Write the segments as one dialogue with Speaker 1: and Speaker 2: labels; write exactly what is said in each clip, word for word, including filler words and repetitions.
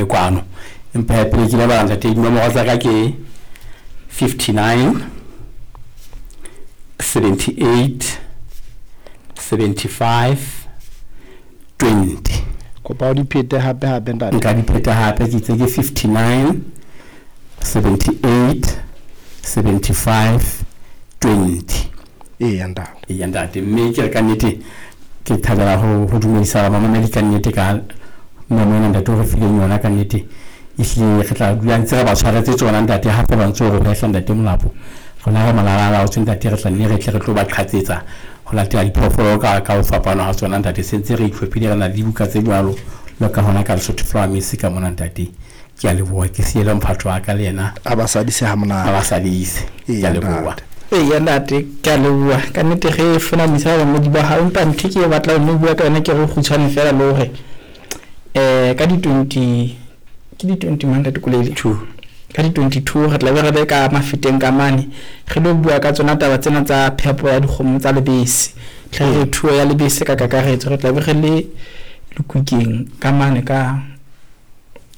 Speaker 1: Kwano empa pele ke lebala ntate, dinomoro tsa ka ke fifty-nine seventy-eight seventy-five twenty.
Speaker 2: Kopa o di phete hape hape ntate.
Speaker 1: Nka di pheta hape, ke itse ke fifty-nine seventy-eight seventy-five twenty.
Speaker 2: Eya ntate.
Speaker 1: Eya ntate, mme ke re ka nnete ke thabela ho ho dumedisa bamamedi ka nnete ka memo ena ntate o re fileng yona. Ka nnete ehlile re tla dula ntse re ba tshwaretse tsona ntate, hape ba ntse o re hwehla ntate Molapo, rona re malala-a-laotswe ntate, re tla nne re tle re tlo ba qhatsetsa ho latela diphoofolo ka ka ho fapana ha tsona ntate. Se ntse re itlhophile, re na le dibuka tse jwalo le ka hona ka Lesotho Flower Mix ka mona ntate. Ke a leboha, ke siele mphato wa ka le yena.
Speaker 2: A ba sadise ha
Speaker 1: a
Speaker 2: monate.
Speaker 1: Ba sadise, ke a leboha.
Speaker 3: Eya ntate, ke a leboha ka nnete ge fonamisa bamamedi ba hao, empa ntho e ke e batlang ho bua ka yona ke re kgutshwane fela le hore um ka di-twenty, ke di-twenty mang ntate Kolele?
Speaker 1: Two.
Speaker 3: Ka di-twenty-two re tla be re le ka Mafeteng ka mane, re lo bua ka tsona taba tsena tsa phepo ya dikgomo tsa lebese, tlhahiso thuo ya lebese ka kakaretso. Re tla be re le Lekukeng ka mane ka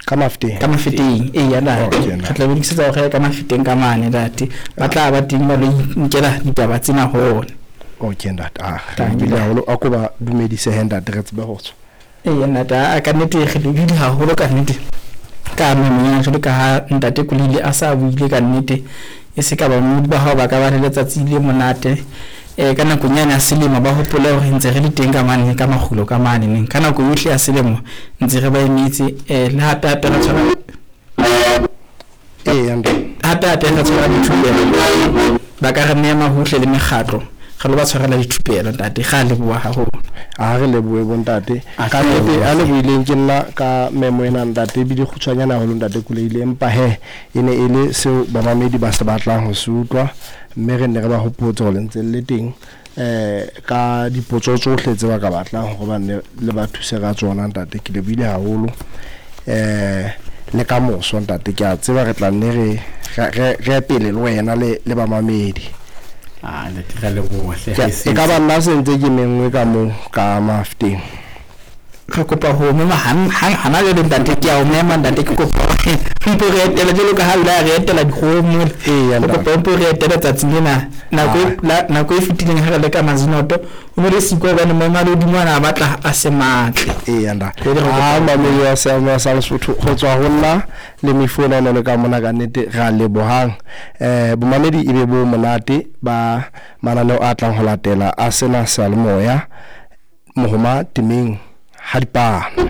Speaker 2: ka Mafeteng.
Speaker 3: Ka Mafeteng, eya ntate.
Speaker 2: Okay, ntate.
Speaker 3: Re tla be lokisetsa hore ka Mafeteng ka mane ntate, ba tla ba teng ba lo inkela ditaba tsena ho ona.
Speaker 2: Okay ntate, ah, re
Speaker 3: Thank you.
Speaker 2: lebile haholo, a ko ba dumedise he ntate, re tsebe ho tswa.
Speaker 3: Eya ntate, a ka nnete re lebile haholo ka nnete ka memo ena, jwalo ka ha ntate Kolile a sa buile ka nnete, e se ka bamamedi ba hao ba ka ba le letsatsi le monate um ka nakong yane ya selemo, ba hopole hore ntse re le teng ka mane ka makgulo ka mane neng ka nako yohle ya selemo ntse re ba emetse um le hape hape re tshwara
Speaker 2: Eya ntate.
Speaker 3: Hape hape re tshwara dithupelo, ba ka re mema hohle le mekgatlo, re lo ba tshwarela dithupelo ntate. Ga leboha haholo.
Speaker 2: A re lebohe bontate.
Speaker 1: A
Speaker 2: ka
Speaker 1: re
Speaker 2: nnete
Speaker 1: lebohe.
Speaker 2: A lebohileng ke nna ka memo ena ntate, ebile kgutshwanyane haholo ntate Koleile, empa he e ne e le seo bamamedi ba se batlang ho se utlwa, mme re ne re ba hopotse hore le ntse le le teng um ka dipotso tsohle tse ba ka batlang hore ba nne le ba thuse ka tsona ntate. Ke lebohile haholo um le ka moso ntate, ke a tseba re tla nne re re re pele le wena le le bamamedi.
Speaker 1: Ah ntate, re a leboha hle.
Speaker 2: Ke-
Speaker 1: Ha e se
Speaker 2: e ka ba nna se ntse ke menngwe ka moo ka Mafeteng.
Speaker 3: Re kopa ho mema hang hang hana jwale ntate, ke a o mema ntate, ke kopa hore mpo re etele jwalo ka ha o ile a re etela dikgomo mole.
Speaker 2: Eya
Speaker 3: re
Speaker 2: ntate.
Speaker 3: Kopa mpo re etele tsatsing lena nako e-
Speaker 2: Ah.
Speaker 3: la- nako e fetileng ha re le ka Mazinoto o ne re siko hobane maemo a lehodimo ana a batla a se matle.
Speaker 2: Eya ntate.
Speaker 3: Jwale re
Speaker 2: a
Speaker 3: kopa-
Speaker 2: mamedi wa seamo sa Lesotho, go tswa ho nna le mefu ena le ka mona, ka nnete re a lebohang um bomamedi, e be bo monate ba mananeo a tlang ho latela a sena seyalemoya mohoma temeng ha dipano.